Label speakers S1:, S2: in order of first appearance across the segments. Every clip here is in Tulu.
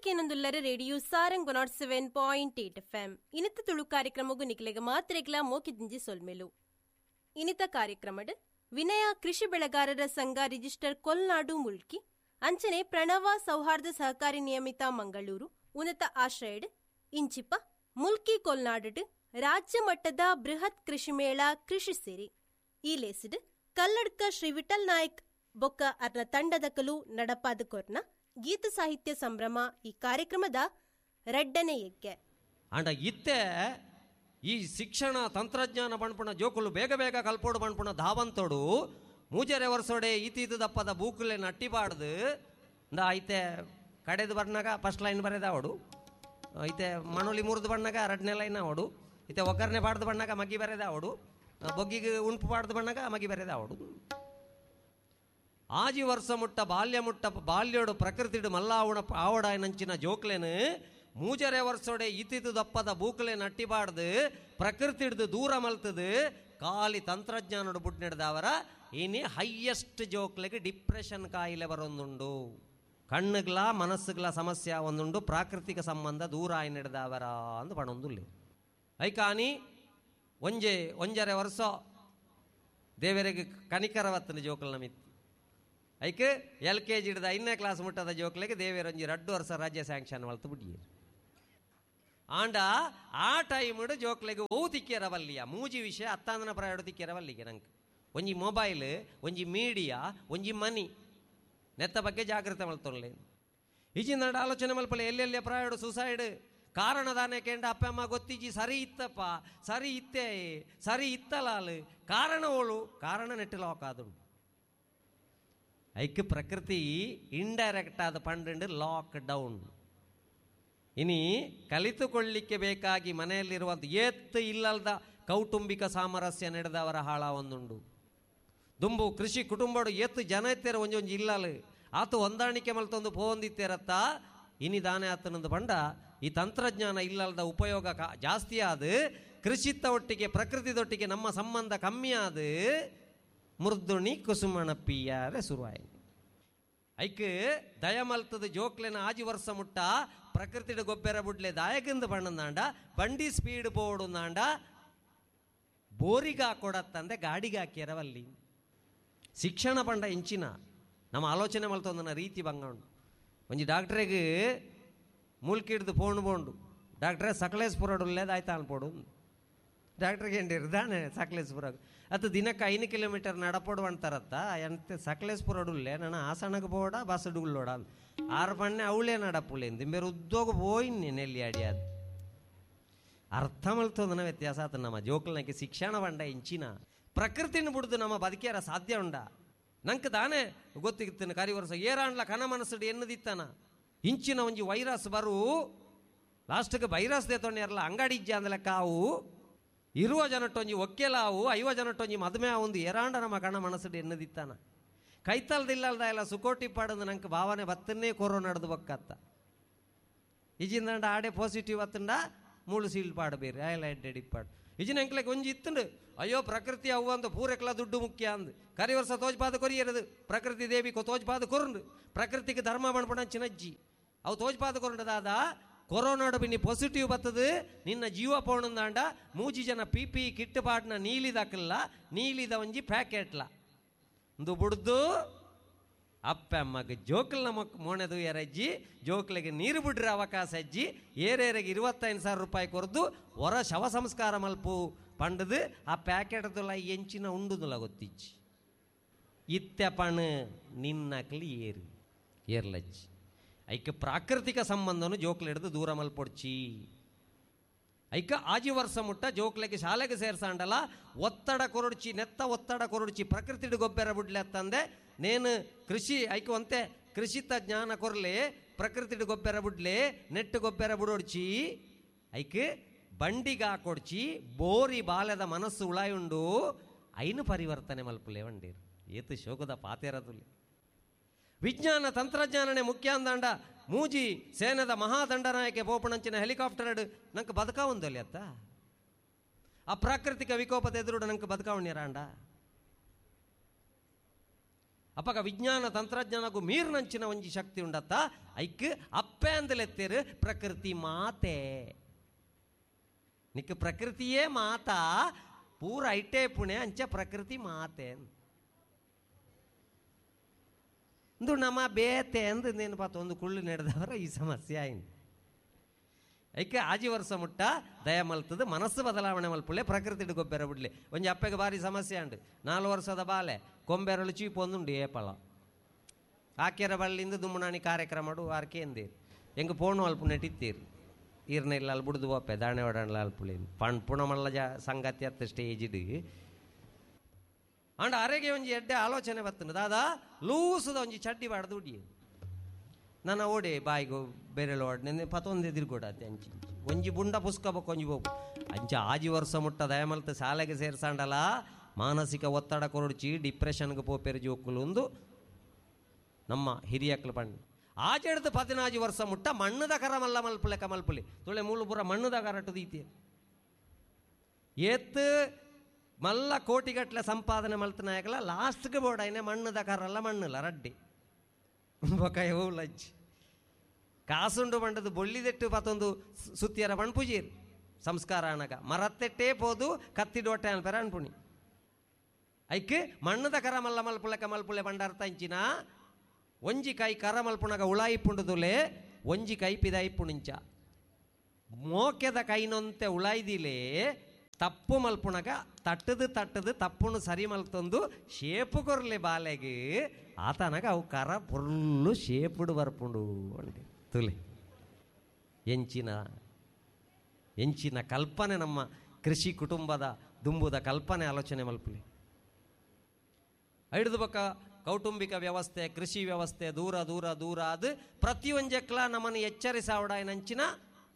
S1: ಕೇನೊಂದುಲ್ಲರ radio Sarang 107.8 FM. ಇನಿತ ತುಳು ಕಾರ್ಯಕ್ರಮಗು ನಿಕ್ಲೆಗ ಮಾತ್ರೆಗ್ಲ ಮೋಕಿದಿಂಜಿ ಸೊಲ್ಮೆಲು. ಇನಿತ ಕಾರ್ಯಕ್ರಮಡ್ ವಿನಯ ಕೃಷಿ ಬೆಳೆಗಾರರ ಸಂಘ ರಿಜಿಸ್ಟರ್ ಕೊಲ್ನಾಡು ಮುಲ್ಕಿ ಅಂಚನೆ ಪ್ರಣವ ಸೌಹಾರ್ದ ಸಹಕಾರಿ ನಿಯಮಿತ ಮಂಗಳೂರು ಉನ್ನತ ಆಶ್ರಯಡ್ ಇಂಚಿಪ ಮುಲ್ಕಿ ಕೊಲ್ನಾಡು ರಾಜ್ಯ ಮಟ್ಟದ ಬೃಹತ್ ಕೃಷಿ ಮೇಳ ಕೃಷಿ ಸಿರಿ ಈ ಲೇಸಿಡ್ ಕಲ್ಲಡ್ಕ ಶ್ರೀ ವಿಠಲ್ ನಾಯ್ಕ್ ಬೊಕ್ಕ ಅರ್ನ ತಂಡದಕಲು ನಡಪಾದ ಕೊರ್ನ ಗೀತ ಸಾಹಿತ್ಯ ಸಂಭ್ರಮ ಈ ಕಾರ್ಯಕ್ರಮದ ರಡ್ಡನೆ ಯಜ್ಞೆ.
S2: ಅಂಡ ಇತ್ತೆ ಈ ಶಿಕ್ಷಣ ತಂತ್ರಜ್ಞಾನ ಬಣ್ಪುಣ ಜೋಕುಲು ಬೇಗ ಬೇಗ ಕಲ್ಪೋಡು ಬಣ್ಪುಣ ಧಾವಂತೋಡು ಮೂಜರೆ ವರ್ಷೋಡೆ ಈತೀತು ದಪ್ಪದ ಬೂಕುಲೆ ನಟ್ಟಿಬಾಡ್ದು ಇಂದ ಐತೆ ಕಡೆದು ಬರ್ನಾಗ ಫಸ್ಟ್ ಲೈನ್ ಬರೆದಾವಡು, ಐತೆ ಮಣೋಲಿ ಮುರಿದು ಬಣ್ಣಾಗ ಎರಡನೇ ಲೈನ್ ಅವಡು, ಇತ್ತೆ ಒಗ್ಗರಣೆ ಬಾಡ್ದು ಬಣ್ಣಾಗ ಮಗ್ಗಿ ಬರೆದಾವಡು, ಬೊಗ್ಗಿಗೆ ಉಂಪು ಬಾಡ್ದು ಬಣ್ಣಾಗ ಮಗ್ಗಿ ಬರೆದಾವಡು. ಆಜಿ ವರ್ಷ ಮುಟ್ಟ ಬಾಲ್ಯ ಮುಟ್ಟ ಬಾಲ್ಯೋಡು ಪ್ರಕೃತಿಡು ಮಲ್ಲಾವಣ ಆವಡ ನಂಚಿನ ಜೋಕ್ಲೇನು ಮೂಜರೆ ವರ್ಷೋಡೆ ಇತಿದು ದಪ್ಪದ ಬೂಕಲೆ ನಟ್ಟಿಬಾಡ್ದು ಪ್ರಕೃತಿ ಹಿಡ್ದು ದೂರ ಮಲ್ತದು ಖಾಲಿ ತಂತ್ರಜ್ಞಾನಡು ಬುಡ್ ನಡೆದವರ ಇನಿ ಹೈಯೆಸ್ಟ್ ಜೋಕ್ಲೆಗೆ ಡಿಪ್ರೆಷನ್ ಕಾಯಿಲೆ ಬರೊಂದುಂಡು, ಕಣ್ಣುಗ್ಲ ಮನಸ್ಸುಗ್ಲ ಸಮಸ್ಯೆ ಒಂದುಂಡು, ಪ್ರಾಕೃತಿಕ ಸಂಬಂಧ ದೂರ ಆಯಿ ನಡೆದವರ ಅಂದು ಪಣೊಂದುಲ್ಲೆ. ಐಕಾನಿ ಒಂಜೆ ಒಂಜರೆ ವರ್ಷ ದೇವರಿಗೆ ಕನಿಕರವತ್ತನ ಜೋಕಲ್ನ ಮಿತ್ತು ಐಕ್ ಎಲ್ ಕೆ ಜಿ ಹಿಡ್ದು 5ನೇ ಕ್ಲಾಸ್ ಮುಟ್ಟದ ಜೋಕ್ಲೆಗೆ ದೇವೇರೊಂಜಿ 2 ವರ್ಷ ರಾಜ್ಯ ಸ್ಯಾಂಕ್ಷನ್ ಮಲ್ತು ಬಿಟ್ಟಿಯರು. ಆಂಡ ಆ ಟೈಮ್ಡು ಜೋಕ್ಲೆಗೆ ಓವು ತಿಕ್ಕಿರವಲ್ಲಿಯ ಮೂಜಿ ವಿಷಯ ಅತ್ತಾಂದನ ಪ್ರಾಯಡು ತಿಕ್ಕಿರವಲ್ಲಿಗೆ ನಂಗೆ ಒಂಜಿ ಮೊಬೈಲ್, ಒಂಜಿ ಮೀಡಿಯಾ, ಒಂಜಿ ಮನಿ ನೆತ್ತ ಬಗ್ಗೆ ಜಾಗೃತೆ ಮಲ್ತೊನ್ಲೆ. ಈಚಿನ ಆಲೋಚನೆ ಮಲ್ಪಲೆ ಎಲ್ಲೆಲ್ಲಿ ಪ್ರಾಯಡು ಸೂಸೈಡ್ ಕಾರಣ ದಾನೆ ಕೇಂಡ ಅಪ್ಪ ಅಮ್ಮ ಗೊತ್ತಿಜ್ಜಿ, ಸರಿ ಇತ್ತಪ್ಪ ಸರಿ ಇತ್ತೇ ಸರಿ ಇತ್ತಲಾಲು ಕಾರಣ ಓಳು ಕಾರಣ ನೆಟ್ಟು ಲಾಕ್ ಆದುಂಡು. ಐಕ್ ಪ್ರಕೃತಿ ಇಂಡೈರೆಕ್ಟ್ ಆದ ಪಂಡು ಲಾಕ್ ಡೌನ್. ಇನಿ ಕಲಿತುಕೊಳ್ಳಿಕ್ಕೆ ಬೇಕಾಗಿ ಮನೆಯಲ್ಲಿರುವಂಥ ಏತ್ತು ಇಲ್ಲಲ್ದ ಕೌಟುಂಬಿಕ ಸಾಮರಸ್ಯ ನಡೆದವರ ಹಾಳ ಒಂದುಂಡು. ದುಂಬು ಕೃಷಿ ಕುಟುಂಬಡು ಏತ್ತು ಜನ ಇತ್ತೇರ ಒಂಜೊಂಜಿ ಇಲ್ಲಲು ಆತು ಹೊಂದಾಣಿಕೆ ಮಲ್ತೊಂದು ಪೋಂದಿತ್ತೇರತ್ತ ಇನಿ ದಾನೆ ಆತನೊಂದು ಬಂಡ ಈ ತಂತ್ರಜ್ಞಾನ ಇಲ್ಲಲ್ದ ಉಪಯೋಗ ಜಾಸ್ತಿ ಆದ ಕೃಷಿತ್ತ ಒಟ್ಟಿಗೆ ಪ್ರಕೃತಿದೊಟ್ಟಿಗೆ ನಮ್ಮ ಸಂಬಂಧ ಕಮ್ಮಿ ಆದ ಮೃದುಣಿ ಕುಸುಮಣ ಪಿಯಾರೆ ಶುರುವಾಯಿ. ಐಕ್ ದಯಮಲ್ತದ ಜೋಕ್ಲೆನ ಆಜಿ ವರ್ಷ ಮುಟ್ಟ ಪ್ರಕೃತಿಡ ಗೊಬ್ಬರ ಬುಡ್ಲೆ ದಾಯಕಿಂದ ಬಣ್ಣಂದಾಂಡ ಬಂಡಿ ಸ್ಪೀಡ್ ಪೋಡುಂದಾಂಡ ಬೋರಿಗ ಕೊಡತ್ತಂದೆ ಗಾಡಿಗೆ ಹಾಕ್ಯಾರವಲ್ಲಿ. ಶಿಕ್ಷಣ ಪಂಡ ಇಂಚಿನ ನಮ್ಮ ಆಲೋಚನೆ ಮಲ್ತೊಂದನ ರೀತಿ ಬಂಗಂಡು. ಒಂಜಿ ಡಾಕ್ಟ್ರಿಗೆ ಮೂಲ್ಕಿಡ್ದು ಫೋನ್ ಬೋಂಡು ಡಾಕ್ಟ್ರೇ ಸಕಲೇಶ್ಪುರಡುಲ್ಲೇದು ಆಯ್ತಾ ಅನ್ಪೋಡು. ಡಾಕ್ಟ್ರಿಗೆ ಏನಿರ್ದಾನೆ ಸಕಲೇಶ್ಪುರ ಅದು ದಿನಕ್ಕೆ 5 ಕಿಲೋಮೀಟರ್ ನಡಪೋಡು ಅಂತಾರತ್ತ ಎಂತ ಸಕಲೇಶ್ಪುರಡುಲ್ಲೆ ನಾನು ಹಾಸನಕ್ಕೆ ಬೋಡ ಬಸ್ ಡುಳ್ಳೋಡ ಆರು ಪಣ್ಣೆ ಅವಳೇ ನಡಪುಲೆ ದಿಂಬೇರು ಉದ್ಯೋಗ ಪೋಯಿನ್ನೆ ನೆಲ್ಲಿ ಅಡಿಯಾದು. ಅರ್ಥ ಮಲ್ತೋದನ ವ್ಯತ್ಯಾಸ ಆತ ನಮ್ಮ ಜೋಕ್ಲನಕ್ಕೆ ಶಿಕ್ಷಣ ಬಂಡ ಇಂಚಿನ ಪ್ರಕೃತಿನ ಬಿಡ್ದು ನಮ್ಮ ಬದುಕಿಯಾರ ಸಾಧ್ಯ ಉಂಡ. ನಂಗೆ ತಾನೇ ಗೊತ್ತಿತ್ತೇನೆ ಕರಿ ವರ್ಷ ಏರಾಂಡ್ಲ ಕನ ಮನಸ್ಸುಡು ಎನ್ನದಿತ್ತಾನ ಇಂಚಿನ ಒಂಜಿ ವೈರಸ್ ಬರು ಲಾಸ್ಟ್ಗೆ ವೈರಸ್ ದೇತೊಂಡಿರಲ್ಲ ಅಂಗಡಿ ಇಜ್ಜ ಅಂದಲೆ ಕಾವು ಇರುವ ಜನಟ್ಟೊಂಜಿ ಒಕ್ಕೆಲಾವು 50 ಜನಟ್ಟೊಂಜಿ ಮದುವೆ ಒಂದು ಏರಾಂಡ ನಮ್ಮ ಕಣ ಮನಸ್ಸುಡು ಎನ್ನದಿತ್ತಾನ ಕೈತಲ್ದಿಲ್ಲಲ್ದ ಎಲ್ಲ ಸುಕೋಟಿ ಪಾಡಂದು ನಂಗೆ ಭಾವನೆ ಬತ್ತನ್ನೇ ಕೊರೋನಾ ನಡೆದು ಬಕ್ಕತ್ತ ಇಜಿಂದಂಡ ಆಡೆ ಪಾಸಿಟಿವ್ ಅತ್ತಂಡ ಮೂಳು ಸೀಲ್ ಪಾಡಬೇರಿ ಆಯಲ ಎಡ್ಡೆಡಿ ಪಾಡು ಇಜಿನ ಅಂಕ್ಲೆಗೆ ಒಂಜಿ ಇತ್ತಂಡು ಅಯ್ಯೋ ಪ್ರಕೃತಿ ಅವು ಅಂದು ಪೂರೆಕ್ಲ ದುಡ್ಡು ಮುಖ್ಯ ಅಂದು ಕರಿ ವರ್ಷ ತೋಜ್ಪಾದ ಕೊರಿಯರದು ಪ್ರಕೃತಿ ದೇವಿ ತೋಜ್ಪಾದ ಕೊರಂಡು ಪ್ರಕೃತಿಗೆ ಧರ್ಮ ಬಣ್ಪಣ ಚಿನಜ್ಜಿ ಅವು ತೋಜ್ಪಾದ ಕೊರಂಡದಾದ ಕೊರೋನಾಡು ಬಿನ್ನಿ ಪಾಸಿಟಿವ್ ಬರ್ತದೆ ನಿನ್ನ ಜೀವ ಪೋಣಂದಾಂಡ ಮೂಜಿ ಜನ ಪಿ ಪಿ ಕಿಟ್ಟು ಪಾಟ್ನ ನೀಲಿದಾಕಲ್ಲ ನೀಲಿದ ಒಂಜಿ ಪ್ಯಾಕೆಟ್ಲ ಒಂದು ಬುಡ್ದು ಅಪ್ಪ ಅಮ್ಮಗೆ ಜೋಕಲ್ ನಮಕ್ ಮೋಣೆದು ಎರಜ್ಜಿ ಜೋಕ್ಲಿಗೆ ನೀರು ಬಿಡ್ರೆ ಅವಕಾಶ ಅಜ್ಜಿ ಏರೇರಿಗೆ 25,000 ರೂಪಾಯಿ ಕೊರದು ಹೊರ ಶವ ಸಂಸ್ಕಾರ ಮಲ್ಪು ಪಂಡದು ಆ ಪ್ಯಾಕೆಟ್ದುಲ ಎಂಚಿನ ಉಂಡುದುಲ ಗೊತ್ತಿಜ್ಜಿ ಇತ್ತೆ ಪಣ ನಿನ್ನಕ್ಲಿ ಏರು ಏರ್ಲಜ್ಜಿ ಐಕ ಪ್ರಾಕೃತಿಕ ಸಂಬಂಧನು ಜೋಕ್ಲು ಹಿಡಿದು ದೂರ ಮಲ್ಪೊಡ್ಚಿ. ಐಕ ಆಜಿ ವರ್ಷ ಮುಟ್ಟ ಜೋಕ್ಲೆಗೆ ಶಾಲೆಗೆ ಸೇರ್ಸಾಂಡಲ ಒತ್ತಡ ಕೊರಡ್ಚಿ ನೆತ್ತ ಒತ್ತಡ ಕೊರಡ್ಚಿ ಪ್ರಕೃತಿಡು ಗೊಬ್ಬರ ಬುಡ್ಲೆ ನೇನು ಕೃಷಿ ಐಕ ಒಂತೆ ಕೃಷಿತ ಜ್ಞಾನ ಕೊರ್ಲೆ ಪ್ರಕೃತಿಡು ಗೊಬ್ಬರ ಬುಡ್ಲೆ ನೆಟ್ಟು ಗೊಬ್ಬರ ಬುಡೊಡ್ಚಿ ಐಕ್ ಬಂಡಿಗೆ ಹಾಕೊಡ್ಚಿ ಬೋರಿ ಬಾಲ್ಯದ ಮನಸ್ಸು ಉಳಾಯುಂಡು ಐನು ಪರಿವರ್ತನೆ ಮಲ್ಪುಲೆ ವಂಡೀರು ಏತು ಶೋಕದ ಪಾತೇರದುಲೆ. ವಿಜ್ಞಾನ ತಂತ್ರಜ್ಞಾನನೇ ಮುಖ್ಯ ಅಂದಾಂಡ ಮೂಜಿ ಸೇನದ ಮಹಾದಂಡನಾಯಕೆ ಪೋಪಣಂಚಿನ ಹೆಲಿಕಾಪ್ಟರ್ ನಂಗೆ ಬದುಕಾವಂದಲ್ಲಿ ಅತ್ತ ಆ ಪ್ರಾಕೃತಿಕ ವಿಕೋಪದ ಎದುರುಡು ನಂಗೆ ಬದುಕಾವಣ್ಯರಾಂಡ. ಅಪಗ ವಿಜ್ಞಾನ ತಂತ್ರಜ್ಞಾನಕ್ಕೂ ಮೀರ್ನಂಚಿನ ಒಂಜಿ ಶಕ್ತಿ ಉಂಡತ್ತ ಐಕ್ ಅಪ್ಪೆ ಅಂದಲೆತ್ತೇರು ಪ್ರಕೃತಿ ಮಾತೆ. ನಿಕ್ ಪ್ರಕೃತಿಯೇ ಮಾತಾ ಪೂರ ಐಟೇ ಪುಣೆ ಅಂಚ ಪ್ರಕೃತಿ ಮಾತೆ ಇಂದು ನಮ್ಮ ಬೇತೆ ಅಂದು ನೆನಪಾತ ಒಂದು ಕುಳ್ಳು ನಡೆದವರ ಈ ಸಮಸ್ಯೆ ಆಯ್ತು. ಐಕೆ ಆಜಿ ವರ್ಷ ಮುಟ್ಟ ದಯ ಮಲ್ತದ ಮನಸ್ಸು ಬದಲಾವಣೆ ಮಲ್ಪುಳ್ಳೆ ಪ್ರಕೃತಿ ಗೊಬ್ಬರ ಬಿಡ್ಲಿ. ಒಂಜಿ ಅಪ್ಪಗೆ ಭಾರಿ ಸಮಸ್ಯೆ ಅಂಡು 4 ವರ್ಷದ ಬಾಲೆ ಕೊಂಬೆರಳು ಚೀಪು ಒಂದುಂಡು ಏಪಲ ಆಕೆರ ಬಳ್ಳಿಂದ ದುಮ್ಮನಾಣಿ ಕಾರ್ಯಕ್ರಮ ಆರ್ಕೆ ಎಂದೀರು ಹೆಂಗೆ ಫೋನು ಅಲ್ಪ ನೆಟ್ಟಿತ್ತೀರು ಈರ್ನ ಇಲ್ಲ ಅಲ್ಲಿ ಬುಡ್ದು ಬೋಪೆ ದಾಣೆ ಒಡಣ್ಲ ಅಲ್ಪುಳಿ ಪಣ್ ಪುಣಮಲ್ಲ ಜ ಸಂಗತಿ ಅತ್ತ ಸ್ಟೇಜಿಡು ಅಂಡ್ ಅರೆಗೆ ಒಂಜಿ ಎಡ್ಡೆ ಆಲೋಚನೆ ಬರ್ತದೆ ದಾದಾ ಲೂಸದ ಒಂಜಿ ಚಡ್ಡಿ ಬಾಡ್ದು ಉಡಿ ನನ್ನ ಓಡೆ ಬಾಯಿಗು ಬೇರೆಲ್ಲ ಓಡ್ನೆ ಪತೊಂದು ಎದುರುಗೊಡತ್ತೆ ಅಂಚಿ ಒಂಜಿ ಬುಂಡ ಪುಸ್ಕಬೇಕು ಒಂಜಿ ಬೋಪು ಅಂಚ ಆಜಿ ವರ್ಷ ಮುಟ್ಟ ದಯಮಲ್ತ ಶಾಲೆಗೆ ಸೇರ್ಸಾಂಡಲ ಮಾನಸಿಕ ಒತ್ತಡ ಕೊರಡ್ಚಿ ಡಿಪ್ರೆಷನ್ಗೆ ಪೋಪೆರು ಜೋಕುಲು ಒಂದು ನಮ್ಮ ಹಿರಿಯಕ್ಲು ಪಂಡು ಆಚೆಡ್ದು 14 ವರ್ಷ ಮುಟ್ಟ ಮಣ್ಣದ ಕರ ಮಲ್ಲ ಮಲ್ಪುಲೆ ಕಮಲ್ಪುಲಿ ತುಳೆ ಮೂಲು ಪೂರ ಮಣ್ಣದ ಕರಟು ದೀತಿ ಏತ್ ಮಲ್ಲ ಕೋಟಿಗಟ್ಟಲೆ ಸಂಪಾದನೆ ಮಲ್ತನಾಯಕಲ ಲಾಸ್ಟ್ಗೆ ಬೋಡಾಯ್ನೆ ಮಣ್ಣದ ಕರಲ್ಲ ಮಣ್ಣಲ್ಲ ರಡ್ಡಿ ಬೊಕ ಲಜ್ಜಿ ಕಾಸುಂಡು ಬಂಡದು ಬೊಳ್ಳಿದೆಟ್ಟು ಪತ್ತೊಂದು ಸುತ್ತಿಯರ ಪಣ್ಪುಜೀರ್ ಸಂಸ್ಕಾರ ಅಣಗ ಮರತ್ತೆಟ್ಟೇ ಪೋದು ಕತ್ತಿಡೋಟೆ ಅನ್ಪೆರ ಅನ್ಪುಣಿ ಐಕ್ ಮಣ್ಣದ ಕರ ಮಲ್ಲ ಮಲ್ಪುಲೆ ಕಮಲ್ಪುಲೆ ಬಂಡಾರ್ತ ಇಂಚಿನ ಒಂಜಿ ಕೈ ಕರ ಮಲ್ಪುಣಗ ಉಳಾಯಿಪುಂಡುದುಲೆ ಒಂಜಿ ಕೈ ಪಿದಾಯಿಪುಣಿಂಚ ಮೋಕೆದ ಕೈನೊಂತೆ ಉಳಾಯ್ದಿಲೆ ತಪ್ಪು ಮಲ್ಪುಣಗ ತಟ್ಟದು ತಟ್ಟದು ತಪ್ಪುನು ಸರಿ ಮಲ್ತೊಂದು ಶೇಪು ಕೊರ್ಲೆ ಬಾಲೆಗೆ ಆತನಗ ಅವು ಕರ ಪೊರ್ಲು ಶೇಪುಡು ಬರ್ಪುಂಡು ಅಂడి ತುಲೆ ಎಂಚಿನ ಎಂಚಿನ ಕಲ್ಪನೆ ನಮ್ಮ ಕೃಷಿ ಕುಟುಂಬದ ದುಂಬುದ ಕಲ್ಪನೆ ಆಲೋಚನೆ ಮಲ್ಪುಲೆ. ಐಡ್ದು ಬಕ್ಕ ಕೌಟುಂಬಿಕ ವ್ಯವಸ್ಥೆ ಕೃಷಿ ವ್ಯವಸ್ಥೆ ದೂರ ದೂರ ದೂರ ಅದು ಪ್ರತಿಯೊಂಜಕ್ಲ ನಮ್ಮನ್ನು ಎಚ್ಚರಿಸಾವಡಾಯನಂಚಿನ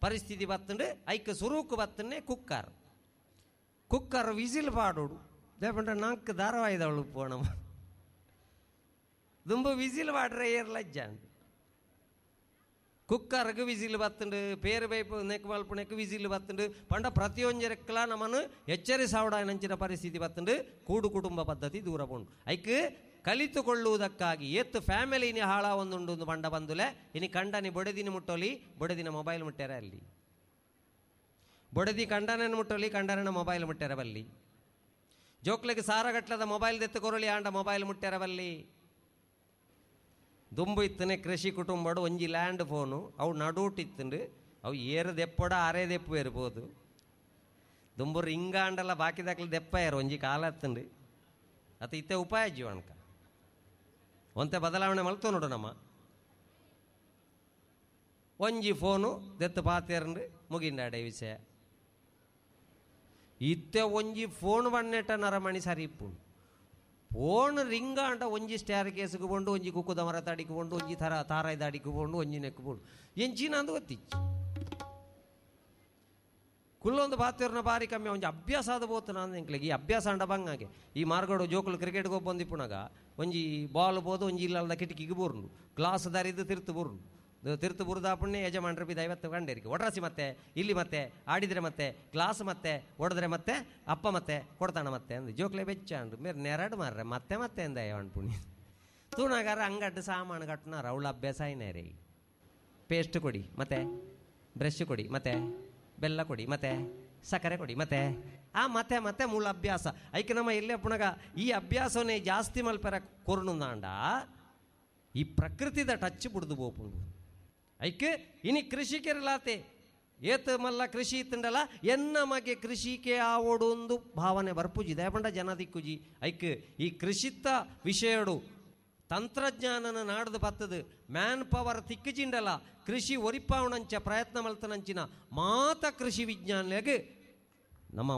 S2: ಪರಿಸ್ಥಿತಿ ಬತ್ತಂಡು ಐಕ್ ಸುರೂಕು ಬತ್ತನ್ನೇ ಕುಕ್ಕರ್ ಕುಕ್ಕರ್ ವಿಸಿಲ್ ಪಾಡೋಡು ದೇಪಂಡ ನಾಲ್ಕು ಧಾರಾವಾಹಿದವಳು ಪೋಣಮ್ಮ ದುಂಬು ವಿಸಿಲ್ ಪಾಡ್ರೆ ಏರ್ ಲಜ್ಜ ಕುಕ್ಕರ್ಗೆ ವಿಸಿಲ್ ಬತ್ತಂಡು ಪೇರು ಬೈಪು ನೆಕ್ ಮಲ್ಪು ನೆಕ್ ವಿಸಿಲ್ ಬತ್ತಂಡು ಪಂಡ ಪ್ರತಿಯೊಂಜರಕ್ಲ ನಮ್ಮನ್ನು ಎಚ್ಚರಿಸಾವಡಾಯನಂಚಿನ ಪರಿಸ್ಥಿತಿ ಬತ್ತಂಡು ಕೂಡು ಕುಟುಂಬ ಪದ್ಧತಿ ದೂರ ಪೋಂಡು ಐಕ್ ಕಲಿತುಕೊಳ್ಳುವುದಕ್ಕಾಗಿ ಏತ್ತು ಫ್ಯಾಮಿಲಿನಿ ಹಾಳ ಒಂದುಂಡು ಬಂಡ ಬಂದುಲೆ ಇನಿ ಕಂಡನಿ ಬೊಡೆದಿನ ಮುಟ್ಟೋಲಿ ಬೊಡೆದಿನ ಮೊಬೈಲ್ ಮುಟ್ಟಾರ ಅಲ್ಲಿ ಬೊಡೆದಿ ಕಂಡನನ್ನು ಮುಟ್ಟೋಲಿ ಕಂಡನ ಮೊಬೈಲ್ ಮುಟ್ಟಾರ ಬಲ್ಲಿ ಜೋಕ್ಲೆಗೆ ಸಾರಗಟ್ಲದ ಮೊಬೈಲ್ ದೆತ್ತು ಕೊರಳಿ ಆಂಡ ಮೊಬೈಲ್ ಮುಟ್ಟಾರ ಬಲ್ಲಿ ದುಂಬು ಇತ್ತನೆ ಕೃಷಿ ಕುಟುಂಬಡು ಒಂಜಿ ಲ್ಯಾಂಡ್ ಫೋನು ಅವು ನಡುಟಿತ್ತಂಡು ಅವು ಏರು ದೆಪ್ಪೊಡ ಅರೆ ದೆಪ್ಪು ಇರ್ಬೋದು ದುಂಬು ರಿಂಗಾಂಡಲ್ಲ ಬಾಕಿದಾಕ್ಲಿ ದೆಪ್ಪ ಏರು ಒಂಜಿ ಕಾಲ ಹತ್ತಂಡು ಅತ್ತ ಇತ್ತೆ ಉಪಾಯ ಜೀವನಕ ಒಂತೆ ಬದಲಾವಣೆ ಮಲ್ತು ನೋಡು ನಮ್ಮ ಒಂಜಿ ಫೋನು ದೆತ್ತು ಪಾತೇರಂಡು ಮುಗಿಂಡಾಡೆ ವಿಷಯ ಇತ್ತೆ ಒಂಜಿ ಫೋನ್ ಬಣ್ಣೆಟ್ಟ ನರಮಣಿ ಸರಿ ಇಪ್ಪು ಫೋನ್ ರಿಂಗಾಂಡ ಒಂಜಿ ಸ್ಟ್ಯಾರ್ ಕೇಸ್ಗೆ ಕೊಂಡು ಒಂಜಿ ಕುಕ್ಕುದ ಮರ ತಡಿಗೆ ಕೊಂಡು ಒಂಜಿ ಥರ ತಾರಾಯ್ದ ಅಡಿಗೆ ಕೊಂಡು ಒಂಜಿ ನೆಕ್ಕು ಕೊಂಡು ಎಂಚಿನ ಅಂದು ಗೊತ್ತಿಚ್ಚು ಕುಲ್ಲೊಂದು ಪಾತೇರ್ನ ಬಾರಿ ಕಮ್ಮಿ ಒಂಜಿ ಅಭ್ಯಾಸ ಆದ ಬೋತು ನಾನು ಎಂಕ್ಲೆಗೆ ಈ ಅಭ್ಯಾಸ ಅಂಡ ಬಂಗಾಗೆ ಈ ಮಾರ್ಗಡು ಜೋಕುಲು ಕ್ರಿಕೆಟ್ಗೆ ಒಬ್ಬಂದಿಪ್ಪುನಾಗ ಒಂಜಿ ಬಾಲ್ ಬೋದು ಒಂಜಿ ಇಲ್ಲದ ಕಿಟಕಿಗೆ ಬೋರ್ನು ಗ್ಲಾಸ್ ದಾರಿದ್ದು ತಿರ್ತು ಬೋರ್ನು ತಿರ್ತು ಬುರ್ದಾಪುಣ್ಣೆ ಯಜಮಾನ್ರ ಬಿದ್ದು 50 ಕಂಡೇರಿಗೆ ಒಡ್ರಸಿ ಮತ್ತೆ ಇಲ್ಲಿ ಮತ್ತೆ ಆಡಿದರೆ ಮತ್ತೆ ಗ್ಲಾಸ್ ಮತ್ತೆ ಒಡೆದ್ರೆ ಮತ್ತೆ ಅಪ್ಪ ಮತ್ತೆ ಕೊಡ್ತಾಣ ಮತ್ತೆ ಅಂದು ಜೋಕ್ಲೆ ಬೆಚ್ಚ ಅಂಡು ಮೇರೆ ನೆರಡು ಮಾರ್ರೆ ಮತ್ತೆ ಮತ್ತೆ ಅಂದ ಪುಣ್ಯ ತೂಣಗಾರ ಅಂಗಡ್ಡು ಸಾಮಾನು ಕಟ್ಟನಾರ ಅವಳ ಅಭ್ಯಾಸ ಐನೇ ರೀ ಪೇಸ್ಟ್ ಕೊಡಿ ಮತ್ತೆ ಬ್ರಷ್ ಕೊಡಿ ಮತ್ತೆ ಬೆಲ್ಲ ಕೊಡಿ ಮತ್ತೆ ಸಕ್ಕರೆ ಕೊಡಿ ಮತ್ತೆ ಆ ಮತ್ತೆ ಮತ್ತೆ ಮೂಲ ಅಭ್ಯಾಸ ಐಕೆ ನಮ್ಮ ಎಲ್ಲೇ ಪುಣಗ ಈ ಅಭ್ಯಾಸವನ್ನೇ ಜಾಸ್ತಿ ಮಲ್ಪೆರ ಕೊರ್ಣುಂದಾಂಡ ಈ ಪ್ರಕೃತಿದ ಟಚ್ ಬುಡ್ದು ಬೋಪುಂಡು ಐಕೆ ಇನಿ ಕೃಷಿಕೆರಲಾತೆ ಏತ ಮಲ್ಲ ಕೃಷಿ ಇತ್ತಂಡಲ್ಲ ಎನ್ನ ಮಗೆ ಕೃಷಿಕೆ ಆವೋಡು ಒಂದು ಭಾವನೆ ಬರ್ಪುಜಿ ದಯಪಂಡ ಜನ ದಿಕ್ಕುಜಿ ಐಕ್ ಈ ಕೃಷಿತ್ತ ವಿಷಯಡು ತಂತ್ರಜ್ಞಾನನ ನಾಡ್ದು ಬತ್ತದು ಮ್ಯಾನ್ ಪವರ್ ತಿಕ್ಕುಜಿಂಡಲ ಕೃಷಿ ಒರಿಪಾವಣಂಚ ಪ್ರಯತ್ನ ಮಲ್ತನಂಚಿನ ಮಾತ ಕೃಷಿ ವಿಜ್ಞಾನಿಗೆ ನಮ್ಮ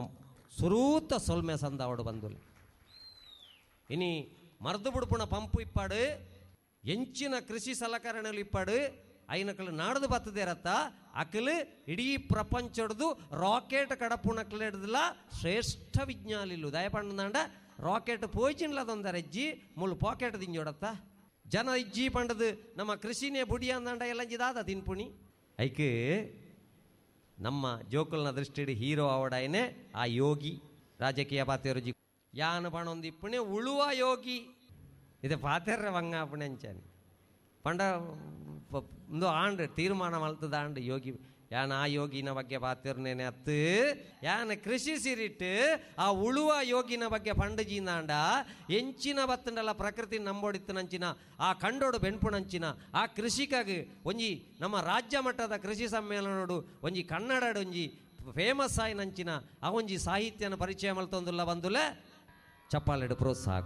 S2: ಸುರೂತ ಸೊಲ್ಮೆ ಸಂದಾವಡು ಬಂದುಲೆ. ಇನಿ ಮರ್ದು ಬುಡ್ಪುಣ ಪಂಪು ಇಪ್ಪಾಡು ಎಂಚಿನ ಕೃಷಿ ಸಲಕರಣೆలు ಇಪ್ಪಾಡು ಐನಕಲು ನಾಡ್ದು ಬತ್ತದೇರತ್ತ ಅಕಲು ಇಡೀ ಪ್ರಪಂಚಡ್ದು ರಾಕೆಟ್ ಕಡಪುಣಕ್ಲೆಡ್ದಲ ಶ್ರೇಷ್ಠ ವಿಜ್ಞಾನಿಲು ದಯಪಂಡ ರಾಕೆಟ್ ಪೋಯ್ಚಿನ್ಲದೊಂದರ ಇಜ್ಜಿ ಮುಳ್ಳು ಪಾಕೆಟ್ ದಿಂಜೋಡತ್ತ ಜನ ಇಜ್ಜಿ ಪಂಡದು ನಮ್ಮ ಕೃಷಿನೇ ಬುಡಿ ಅಂದಂಡ ಎಲ್ಲ ದಾದ ತಿನ್ಪುಣಿ ಐಕ್ ನಮ್ಮ ಜೋಕುಲ್ನ ದೃಷ್ಟಿಡ್ ಹೀರೋ ಅವಡಾಯನೆ ಆ ಯೋಗಿ ರಾಜಕೀಯ ಪಾತೆರುಜಿ ಯಾನು ಪಣೊಂದಿಪ್ಪುಣೆ ಉಳುವ ಯೋಗಿ. ಇದು ಪಾತೆರ್ರ ಬಂಗಾಪುಣೆಂಚನಿ ಪಂಡ ಒಂದು ಆಂಡ್ ತೀರ್ಮಾನ ಮಲ್ತದ ಆಂಡ್ ಯೋಗಿ ಯಾನ್ ಆ ಯೋಗಿನ ಬಗ್ಗೆ ಪಾತಿರ್ನೇನೆ ಅತ್ತು ಯಾನ್ ಕೃಷಿ ಸಿರಿಟ್ಟು ಆ ಉಳುವ ಯೋಗಿನ ಬಗ್ಗೆ ಪಂಡಜಿಂದಾಂಡ ಎಂಚಿನ ಬತ್ತಂಡಲ ಪ್ರಕೃತಿ ನಂಬೋಡಿತ್ತು ನಂಚಿನ ಆ ಕಂಡೋಡು ಬೆನ್ಪುನಂಚಿನ ಆ ಕೃಷಿಕಾಗಿ ಒಂಜಿ ನಮ್ಮ ರಾಜ್ಯ ಮಟ್ಟದ ಕೃಷಿ ಸಮ್ಮೇಳನೋಡು ಒಂಜಿ ಕನ್ನಡ ಒಂಜಿ ಫೇಮಸ್ ಆಯಿನಂಚಿನ ಆ ಒಂಜಿ ಸಾಹಿತ್ಯನ ಪರಿಚಯ ಮಲ್ತೊಂದುಲ್ಲ ಬಂದುಲೆ ಚಪ್ಪಾಲೆಡು ಪ್ರೋತ್ಸಾಹ.